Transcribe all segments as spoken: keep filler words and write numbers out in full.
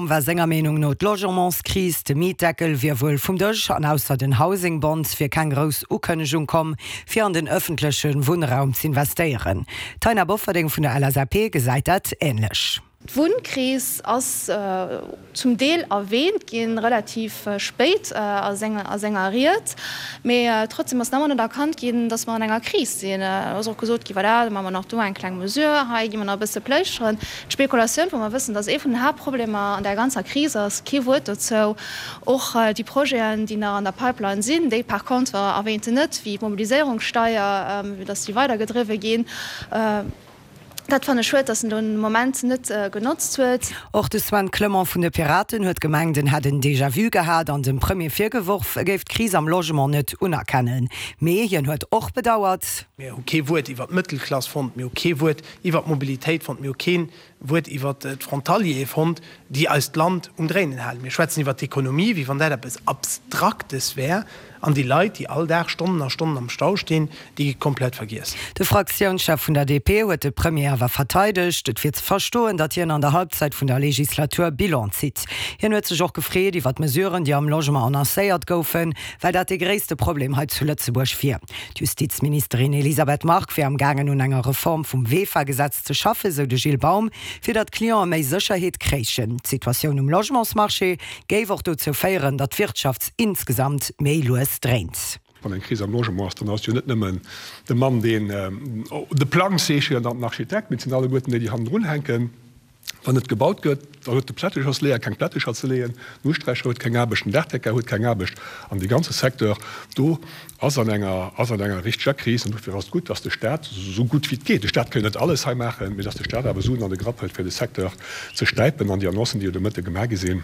War senger Meenung no d'Logementskris, de Mietdeckel wier wuel vum Dësch an ausser den Housing Bonds wier keng grouss Ukënnegung komm, fir an den ëffentleche Wunnraum z'investéieren. D'Taina Bofferding vun der L S A P gesäit dat änlech. D'Wunnkris ass zum Deel erwähnt ginn, relativ spéit a senger Ried, mee trotzdem ass nach ëmmer net erkannt ginn, datt mer an enger Kris sinn. Et ass och gesot ginn, voilà, da maache mer nach do eng kleng Mesure, hei gi mer nach e bësse pléischteren. D'Spekulatioun, wou mer wëssen, datt ee vun den Haaptproblemer an där ganzer Kris ass, kee Wuert dozou. Och déi Projeten, déi nach an der Pipeline sinn, déi par contre erwähnt en net, wéi d'Mobiliséierungssteier, datt déi weidergedriwwe ginn. Dat fannen ech schued, dass en den Moment net genotzt huet. Och de Sven Clement vun de Piraten huet gemengt, en hätt en Déjà-vu gehat an dem Premier virgeworf, e géif d'Kris am Logement net unerkennen. Mee hien huet och bedauert. Mir hu kee Wuert iwwer d'Mëttelklass fonnt, mir hu kee Wuert iwwer d'Mobilitéit fonnt, mir hu kee Wuert iwwer d'Frontaliere fonnt, déi eist Land um Dréinen halen. Mir schwätzen iwwer d'Ekonomie, wéi wann dat eppes Abstraktes wär. An déi Leit, déi all Dag Stonnen a Stonnen am Stau stinn, déi gi komplett vergiess. De Fraktiounschef vun der D P huet de Premier awer verteidegt. Et wier ze verstoen, datt hien an der Halbzeit vun der Legislatur Bilan zitt. Hien huet sech och gefreet iwwer d'Mesuren, déi am Logement annoncéiert goufen, well dat de gréisste Problem hei zu Lëtzebuerg wier. D'Justizministerin Elisabeth Margue wier am gaangen un enger Reform vum V E F A-Gesetz ze schaffen, sou de Gilles Baum, fir datt d'Cliente méi Sécherheet kréichen. D'Situatioun um Logementsmarché géif och dozou féieren, datt d'Wirtschaft insgesamt méi lues dréint. Wann eng Kris am Logement ass, dann ass jo net nëmmen de Mann, deen de Plang zeechent an den Architekt, mee et sinn alleguerten déi, déi hannendrun hänken. Wann net gebaut gëtt, dann huet de Plättechersleeër keng Plättecher ze leeën, den Usträicher huet keng Aarbecht, den Daachdecker huet keng Aarbecht an dee ganze Secteur do ass an enger, ass an enger richteger Kris. An dofir ass et gutt, dass de Staat, esou gutt wéi et geet, de Staat kann jo net alles hei maachen, mee dass de Staat awer Suen an de Grapp hëlt, fir de Secteur ze stäipen. An déi Annoncen, déi jo de Mëtte gemaach gi sinn,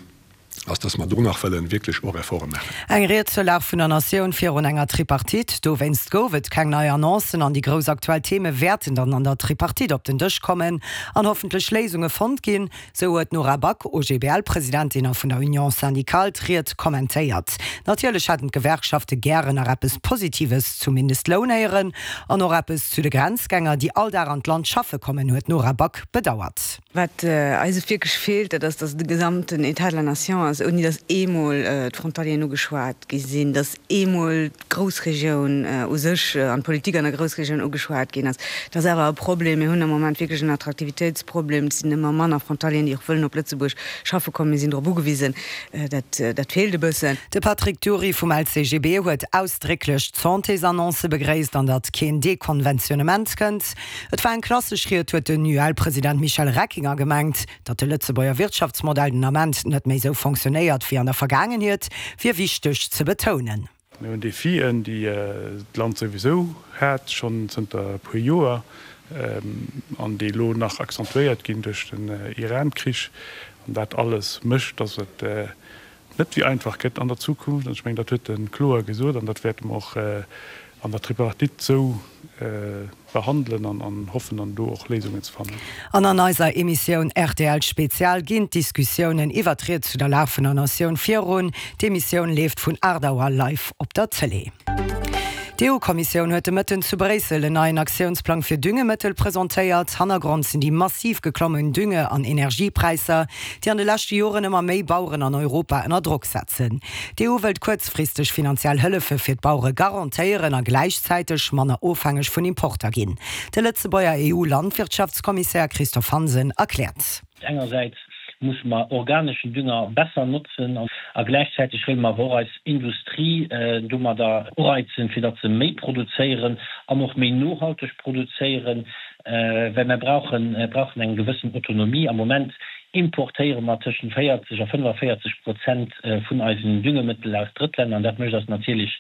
ass, dass mer do nach wëllen wierklech och Efforte maachen. Eng Ried zur Lag vun der Natioun virun enger Tripartite. Dowéinst gouf et keng nei Annoncen an déi grouss aktuell Theme wäerten dann an der Tripartite op den Dësch kommen an hoffentlech Léisunge fonnt ginn, sou huet d'Nora Back, O G B L-Presidentin a vun der Union Syndicale, d'Ried kommentéiert. Natierlech hätten d'Gewerkschafte gären nach eppes Positives zum Mindestloun héieren an och eppes zu de Grenzgänger, déi all Dag an d'Land schaffe kommen, huet d'Nora Back bedauert. Wat eis wierklech feelt, dat ass, dass de gesamten État de la Nation ass, ouni dass eemol d'Frontalieren ugeschwat gi sinn, dass eemol d'Groussregioun u sech an d'Politik an der Groussregioun ugeschwat ginn ass. Dat ass awer e Problem. Mir hunn am Moment wierklech en Attraktivitéitsproblem. Et sinn ëmmer manner Frontalieren, déi och wëllen op Lëtzebuerg schaffe kommen. Mir sinn drop ugewisen. Dat, dat feelt e bëssen. De Patrick Dury vum L C G B huet ausdrécklech d'Santésannonce begréisst an datt keen Dekonventionnement kënnt. Et war eng klassesch Ried, huet den U L-President Michel Reckinger gemengt. Datt de Lëtzebuerger Wirtschaftsmodell den Ament net méi sou fonctionnéiert wéi an der Vergaangenheet, wier wichteg ze betounen. Mir hunn Defien, déi d'Land souwisou hat, schonn zënter e puer Joer, an déi elo nach accentuéiert ginn duerch den Iran-Krich. An dat alles mécht, datt et net wéi einfach gëtt an der Zukunft. An ech mengen, dat huet e kloer gesot an dat wäerte mer och an der Tripartite sou behandelen an hoffen dann do och Léisungen ze fannen. An an eiser Emissioun R T L Spezial ginn d'Diskussiounen iwwer d'Ried zu der Lag vun der Natioun virun. D'Emissioun leeft vun aacht Auer live op der Tëlee. D'E U-Kommissioun huet de Mëtten zu Bréissel en neien Aktiounsplang fir Düngemëttel presentéiert. Hannergrond sinn déi massiv geklommen Dünge an Energiepräisser, déi an de leschte Joren ëmmer méi Baueren an Europa ënner Drock setzen. D'E U wëllt kuerzfristeg finanziell Hëllefe fir d'Bauere garantéieren a gläichzäiteg manner ofhängeg vun Importer ginn. De Lëtzebuerger E U-Landwirtschaftskommissär Christophe Hansen erkläert. Engersäits musse mer organeschen Dünger besser notzen a gläichzäiteg wëlle mer awer och eis Industrie domadder ureizen, fir datt se méi produzéieren an och méi nohalteg produzéieren, well mer brauchen brauchen eng gewëssen Autonomie. Am Moment importéiere mer tëschent véierzeg a fënnefavéierzeg Prozent vun eisen Düngemëttel aus Drëttlänner an dat mécht eis natierlech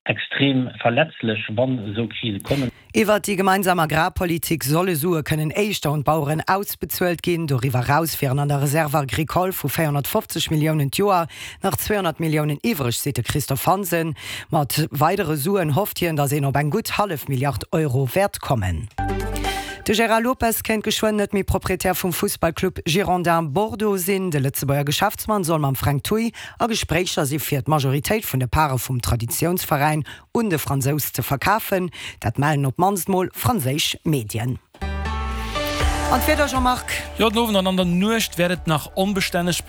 extrem verletzlech, wann esou Krise kommen. Iwwert déi gemeinsam Agrarpolitik solle Sue kënnen éischter un d'Baueren ausbezuelt ginn. Doriwwer eraus wieren an der Réserve agricole vu véierhonnertfofzeg Milliounen d'Joer nach zweehonnert Milliounen iwwreg, seet de Christophe Hansen. Mat weidere Suen hofft hien, datt een op eng gutt hallef Milliard Euro wäert kommen. De Gérard Lopez kéint geschwënn net méi Proprietär vum Fussballclub Girondins Bordeaux sinn. De Lëtzebuerger Geschäftsmann soll mam Frank Thuy a Gespréicher si fir d'Majoritéit vun de Pare vum Traditiounsveräin un de Fransous ze verkafen. Dat mellen op d'mannst mol franséisch Medien. An d'Wieder, Jean-Marc? Jo, den Owend an an der Nuecht wäert et nach onbestänneg.